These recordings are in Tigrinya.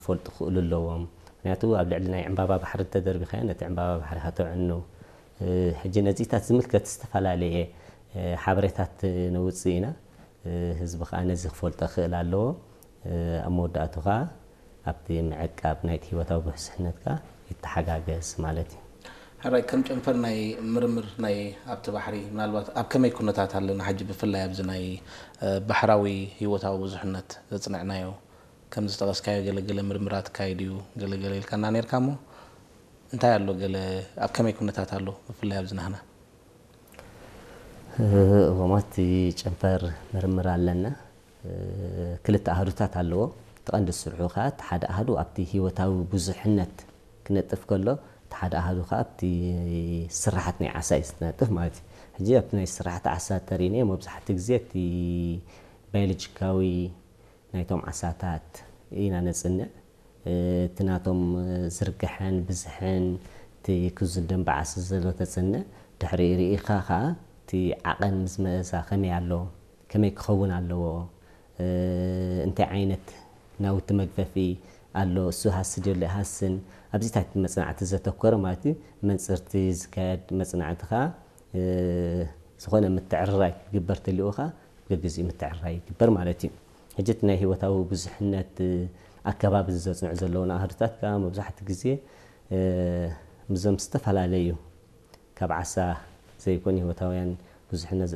ክፈልጡ ክኽእሉ ኣለዎም። ምክንያቱ ኣብ ልዕሊ ናይ ዕምባባ ባሕሪ እንተደርቢኻዮ፣ ነቲ ዕምባባ ባሕሪ ከተዕኑ። ሕጂ ነዚታት ዝምልከት ዝተፈላለየ ሓበሬታት ነውፅእ ኢና። ህዝቢ ከዓ ነዚ ክፈልጦ ክኽእል ኣለዎ። ኣብ መወዳእቱ ከዓ ኣብቲ ምዕቃብ ናይቲ ህይወታዊ ብዝሕነት ከዓ ይተሓጋገዝ ማለት እዩ። ሕራይ፣ ከም ጨንፈር ናይ ምርምር ናይ ኣብቲ ባሕሪ፣ ምናልባት ኣብ ከመይ ኩነታት ኣለና ሕጂ፣ ብፍላይ ኣብዚ ናይ ባሕራዊ ህይወታዊ ብዙሕነት ዘፅንዕናዮ፣ ከም ዝጠቐስካዮ ገለገለ ምርምራት ካይድ እዩ፣ ገለገለ ኢልካና ነርካ እሞ፣ እንታይ ኣሎ፣ ገለ ኣብ ከመይ ኩነታት ኣሎ፣ ብፍላይ ኣብዚ ናህና? እወ፣ ኣብቲ ጨንፈር ምርምር ኣለና። ክልተ ኣህዱታት ኣለዎ። እቲ ቀንዲ ስርሑ ከዓ፣ እቲ ሓደ ኣህዱ ኣብቲ ህይወታዊ ብዙሕነት ክነጥፍ ከሎ፣ እቲ ሓደ ኣህዱ ከዓ ኣብቲ ስራሓት ናይ ዓሳ እዩ ዝነጥፍ ማለት እዩ። ሕጂ ኣብቲ ናይ ስራሓት ዓሳ ተሪእናዮ፣ መብዛሕትኡ ግዜ እቲ ባዮሎጂካዊ ናይቶም ዓሳታት ኢና ነጽንዕ። እቲ ናቶም ዝርግሐን ብዝሕን፣ እቲ ክዙን ደንበ ዓሳ ዘሎ ተጽንዕ። ድሕሪ ርኢኻ ኸኣ እቲ ዓቐን ምስ መእሳ ከመይ ኣሎ፣ ከመይ ክኸውን ኣለዎ፣ እንታይ ዓይነት ናውቲ መግፈፊ ኣሎ፣ እሱ ሃሲ ድዩ ኣሎ ኣይሃስን፣ ኣብዚታት መጽናዕቲ ዘተኮረ ማለት እዩ። መንጽርቲ ዝካየድ መጽናዕቲ ኸኣ፣ ዝኾነ ምትዕርራይ ክግበር ተልዩኻ፣ ገግዚኡ ምትዕርራይ ይግበር ማለት እዩ። ሕጂ እቲ ናይ ህይወታዊ ብዙሕነት ኣከባቢ ዘጽንዑ ዘለዉ ኣሃዱታት ከኣ፣ መብዛሕትኡ ግዜ ምስዞም ዝተፈላለዩ፣ ካብ ዓሳ ዘይኮኑ ህይወታውያን ብዙሕነት፣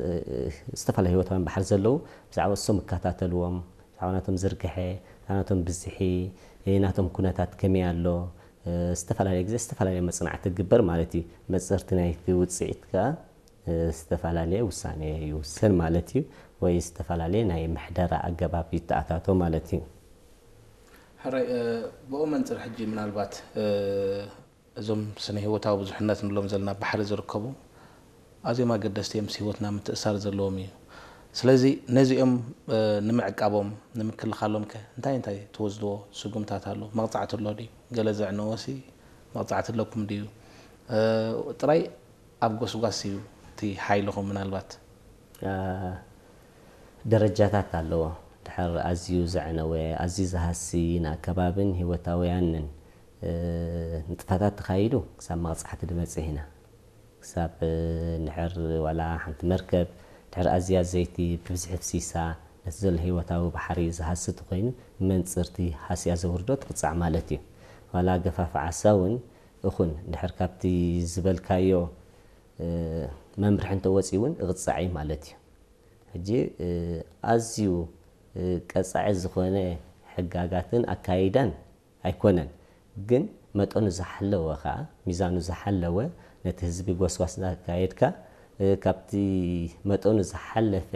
ዝተፈላለዩ ህይወታውያን ባሕሪ ዘለዉ፣ ብዛዕባ እሶም ይከታተልዎም፣ ብዛዕባ ናቶም ዝርግሐ፣ ብዛዕባ ናቶም ብዝሒ፣ ናቶም ኩነታት ከመይ ኣሎ፣ ዝተፈላለየ ግዜ ዝተፈላለየ መጽናዕቲ ክግበር ማለት እዩ። መጽርቲ ናይቲ ውጽኢት ከኣ ዝተፈላለየ ውሳኔ ይውሰን ማለት እዩ፣ ወይ ዝተፈላለየ ናይ ምሕደራ ኣገባብ ይተኣታቶ ማለት እዩ። ሕራይ፣ ብኡ መንጽር ሕጂ ምናልባት እዞም ስነ ህይወታዊ ብዙሕነት ንብሎም ዘለና ባሕሪ ዝርከቡ ኣዝዮም ኣገደስቲ እዮም፣ ምስ ህይወትና ምትእሳር ዘለዎም እዩ። ስለዚ ነዚኦም ንምዕቃቦም ንምክልኻሎም ከ እንታይ እንታይ ትወስድዎ ስጉምታት ኣሎ? መቕጻዕቲ ኣሎ ድዩ? ገለ ዘዕነወሲ መቕጻዕቲ ኣለኩም ድዩ? ጥራይ ኣብ ጎስጓስ እዩ እቲ ሓይልኹም ምናልባት? ደረጃታት ኣለዎ። ድሕር ኣዝዩ ዘዕነወ፣ ኣዝዩ ዝሃሲ፣ ንኣከባብን ህይወታውያንን ንጥፈታት ተኻይዱ ክሳብ መቕጻዕቲ ድበጽሕ ኢና። ክሳብ ድሕር ዋላ ሓንቲ መርከብ ድሕር ኣዝያ ዘይቲ ብብዝሒ ፍሲሳ፣ ነቲ ዘሎ ህይወታዊ ባሕሪ ዝሃሲ ተኾይኑ፣ መንጽርቲ ሃስያ ዘውርዶ ትቕጻዕ ማለት እዩ። ዋላ ገፋፍ ዓሳ እውን እኹን፣ ድሕር ካብቲ ዝበልካዮ መምርሒ እንተወጺኡ እውን እቕጻዕ እዩ ማለት እዩ። ሕጂ ኣዝዩ ቀጻዒ ዝኾነ ሕጋጋትን ኣካይዳን ኣይኮነን፣ ግን መጠኑ ዝሓለወ ኸኣ፣ ሚዛኑ ዝሓለወ፣ ነቲ ህዝቢ ጎስጓስ እናካየድካ፣ ካብቲ መጠኑ ዝሓለፈ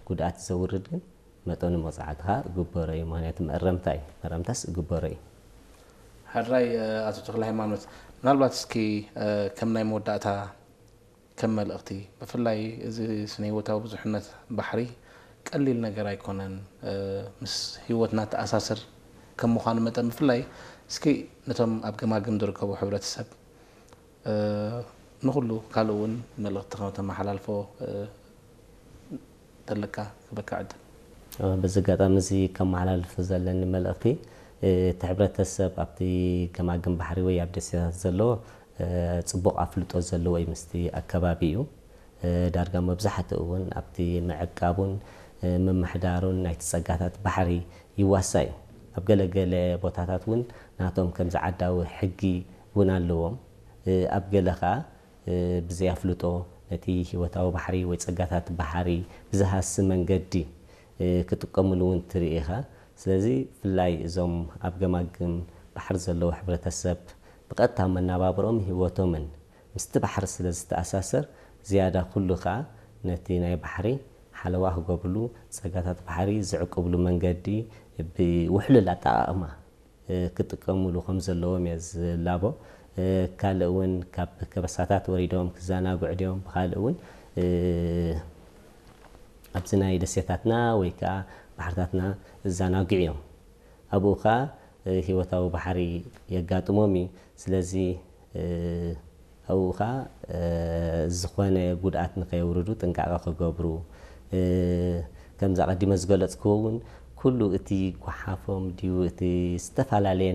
ጉድኣት ዘውርድ ግን መጠኑ መቕጻዕቲ ኸኣ እግበሮ እዩ። ምኽንያቱ መእረምታ እዩ፣ መእረምታስ እግበሮ እዩ። ሕራይ፣ ኣቶ ተኽለ ሃይማኖት፣ ምናልባት እስኪ ከም ናይ መወዳእታ ከም መልእኽቲ፣ ብፍላይ እዚ ስነ ህይወታዊ ብዙሕነት ባሕሪ ቀሊል ነገር ኣይኮነን። ምስ ህይወትና ተኣሳስር ከም ምዃኑ መጠን፣ ብፍላይ እስኪ ነቶም ኣብ ገማግም ዝርከቡ ሕብረተሰብ፣ ንኹሉ ካልእ እውን መልእኽቲ ከም ተመሓላልፎ ተለካ ክበካ ዕድል። በዚ ኣጋጣሚ እዚ ከመሓላልፍ ዘለኒ መልእኽቲ፣ እቲ ሕብረተሰብ ኣብቲ ገማግም ባሕሪ ወይ ኣብ ደሴታት ዘሎ ጽቡቕ ኣፍልጦ ዘለዎ እዩ ምስቲ ኣከባቢ እዩ። ዳርጋ መብዛሕትኡ እውን ኣብቲ ምዕቃቡን ምምሕዳሩን ናይቲ ጸጋታት ባሕሪ ይዋሳ እዩ። ኣብ ገለ ገለ ቦታታት እውን ናቶም ከምዚ ዓዳዊ ሕጊ እውን ኣለዎም። ኣብ ገለ ኸኣ ብዘይ ኣፍልጦ ነቲ ህይወታዊ ባሕሪ ወይ ጸጋታት ባሕሪ ብዝሃሲ መንገዲ ክጥቀምሉ እውን ትርኢ ኢኻ። ስለዚ ብፍላይ እዞም ኣብ ገማግም ባሕሪ ዘለዉ ሕብረተሰብ ብቐጥታ መነባብሮኦም ህይወቶምን ምስቲ ባሕሪ ስለ ዝተኣሳሰር፣ ዝያዳ ኩሉ ኸኣ ነቲ ናይ ባሕሪ ሓለዋ ክገብርሉ፣ ጸጋታት ባሕሪ ዝዕቅብሉ መንገዲ ብውሕሉል ኣጠቓቕማ ክጥቀምሉ ከም ዘለዎም እየ ዝላቦ። ካልእ እውን ካብ ከበሳታት ወሪዶም ክዘናግዑ ድዮም፣ ብኻልእ እውን ኣብዚ ናይ ደሴታትና ወይ ከዓ ባሕርታትና ዝዘናግዑ እዮም። ኣብኡ ከዓ ህይወታዊ ባሕሪ የጋጥሞም እዩ። ስለዚ ኣብኡ ከዓ ዝኾነ ጉድኣት ንከየውርዱ ጥንቃቐ ክገብሩ፣ ከምዚ ኣቐዲመ ዝገለፅክዎ እውን ኩሉ እቲ ጓሓፎም ድዩ እቲ ዝተፈላለየ